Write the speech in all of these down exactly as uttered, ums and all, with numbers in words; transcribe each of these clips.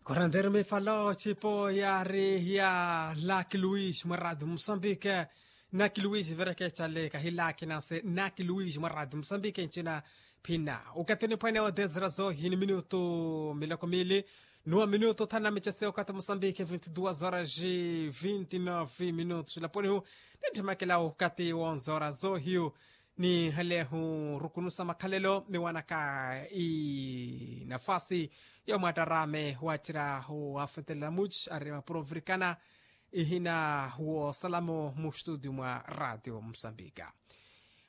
Koranderu mifalo cipo yari ya laki luis mwa radio musambike. Naki luis verekecale kahi laki nase naki luis mwa radio musambike ncina. Phina ukati niphwene wa dezira zohi ni minutu miloko mili. Nuwa minutu thana micese ukati musambike vinti duas horas vinti nove minutu silaponihu. Nitthemakela ukati wonzora zohiyu. Ni halehu rukunusa makhalelo ni wanaka i nafasi ya mwatarame wacira wafetelela muci ari maprovrikana. Ihina wosalamo mu studio mwa radio musambika.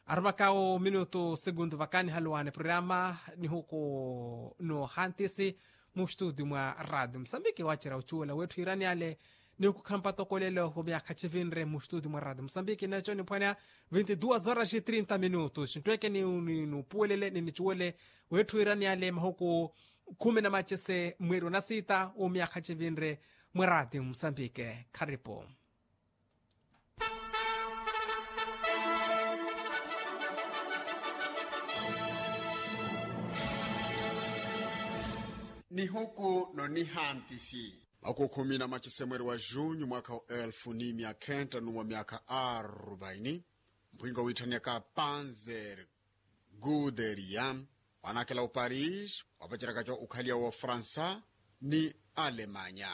Arumaka o minutu segundu vakani haluwane programa ni huku no hantisi mu studio mwa radio musambiki wacira ucuwela wethu iraniale. Ni ukukhampa tokolelo wa myakha civinre mu studio mwa radio musambiki neco niphwanea vinti duas horas e trinta minutos ntweke ni nupuwelele ni nicuwele wethu iraniale mahuku khumi na macese mweri wa nasita wa myakha civinre mwa radio musambiki. Kharipu. Nihuku no nihantisi. Makukhumi na macese mweri wa junyu mwakha wa elfu ni myakhenta numwa myakha arubaini. Mpwingo witthaniaka panzer guderian wanakela uparis wapacera kaco ukhaliya wa fransa ni alemanya.